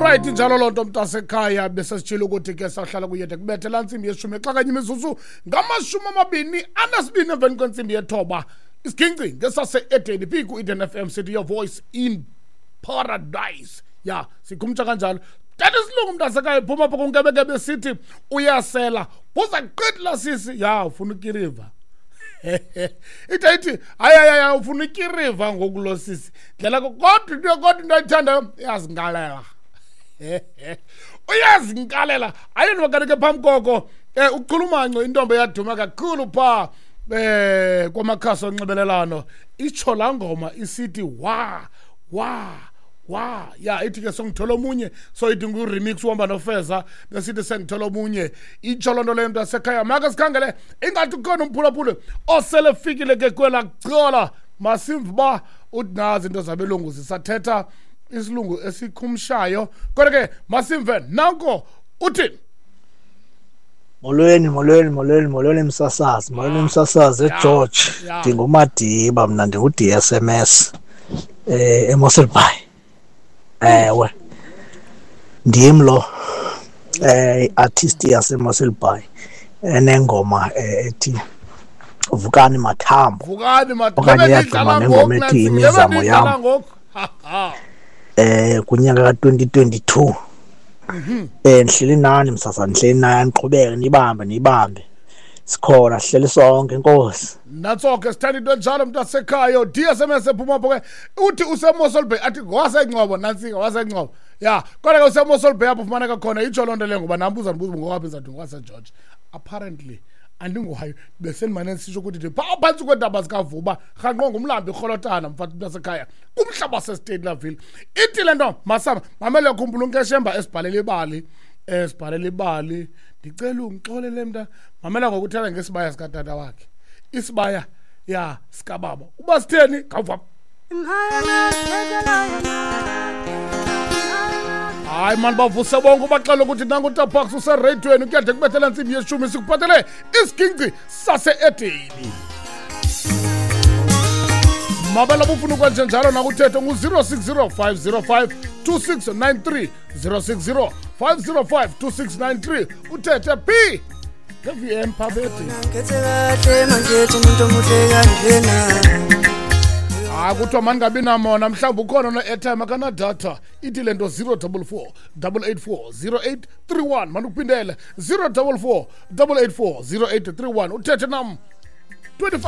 Alright, injalo loo nto, mntasekhaya. Besesitshilo ukuthi ke sahlala kuyede kubethe laa ntsimbi yeshumi xa kanye imizuzu ngama-22 emveni kwentsimbi yethoba. Isiginci ngesase-Edeni phi ku-Eden FM, sithi your voice in paradise. Ya, sikhumtsha kanjalo. Tata isilungu, mntasekhaya, phuma apha kunkebekebe, sithi uyasela buza qithi la sisi ya ufuna ukiriva. Ithi ithi hayi hayi hayi, ufuna ikiriva ngoku lo sisi ndlela, kodwa into ayithandayo iyazinkalela, uyazinkalela. Ayi kanti ke phambi koko uchulumanco, intombi eyaduma kakhulu phaa kwamakhasi onxibelelano, itsho laa ngoma isithi wa wa wa ya, ithi ke songithola omunye, so ithi ngu-remix uhamba nofeza, besithi sengithola omunye. Itsho loo nto leyo, mntu asekhaya. Make sikhangele, ingathi ukhona umphulaphuli osele fikile ke kwelaa cala. Masimve uba uthi nazi into zabelungu zisathetha isilungu esikhumshayo, kodwa ke masimve nanko uthi. Molweni, molweni, molweni, molweni msasazi, molweni msasazi eGeorge. NdinguMadiba mna, ndingu-DSMS eMossel Bay. Ewe. Ndim lo artist yaseMossel Bay enengoma ethi Vukani Mathambo. Vukani. Okanye iyaduma nengoma ethi Imizamo Yam. Ngoku. Kunyaka ka-2022. Ndihleli nani msasazi, ndihleli nani, niqhubeke nibambe, nibambe. Sikhona, sihleli sonke, inkosi. Natso ke, sithanda into enjalo, mntu asekhaya. DSMS ephuma apho ke, uthi useMossel Bay, athi ngowaseNgcobo, nantsika waseNgcobo ya, kodwa ke useMossel Bay apho ufumaneka khona. Itsho loo nto leyo ngoba nam uza ndibuza ngowaphi, ndizawuthi ngowaseGeorge. Apparently andingowayo, besendimane ndisitsho ukuthi ndi phaa phantsi kweentaba zikaVuba, rhanqo ngumlambo irholotana, mfana, mntu asekhaya, kumhlaba waseSteytlerville. Ithi le nto masama mamele, khumbula unkeshemba esibhalela ibali, esibhalela ibali. Ndicela ungixolele mnta, mamela ngokuthela ngesibaya sikatata wakhe, isibaya ya sikababa uba sitheni, khawuva. Hayi mani, bavuse bonke, ubaxela ukuthi nangu utaparks usereyidweni, kuyade kubethela ntsimbi yeshumi, sikuphathele isiginci sase-Edeni. Mabela bufuna ukwenje njalo nakuthetho ngu-060 505 2693, 060 505 2693, uthethe p nge-VM phabeti. Ngikhethe kahle manje umuntu omuhle kanjena. Hayi, kuthiwa mandingabi namona, mhlawumbi ukhona no-airtime akanadatha. Ithi le nto 044 884 0831. Mandikuphindele, 044 884 0831, uthethe nam 25.